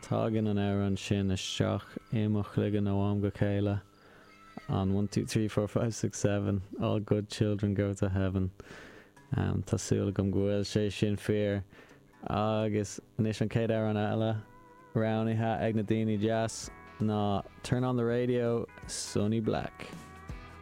Tagann an amhrán sin isteach i mo chloigeann ó am go chéile. An one, two, three, four, five, six, seven, all good children go to heaven. Tá súil agam go bhfuil sé sin fíor. Agus anois an chéad amhrán eile roghnaithe ag na daoine deas ná Turn on the Radio, Sonny Black.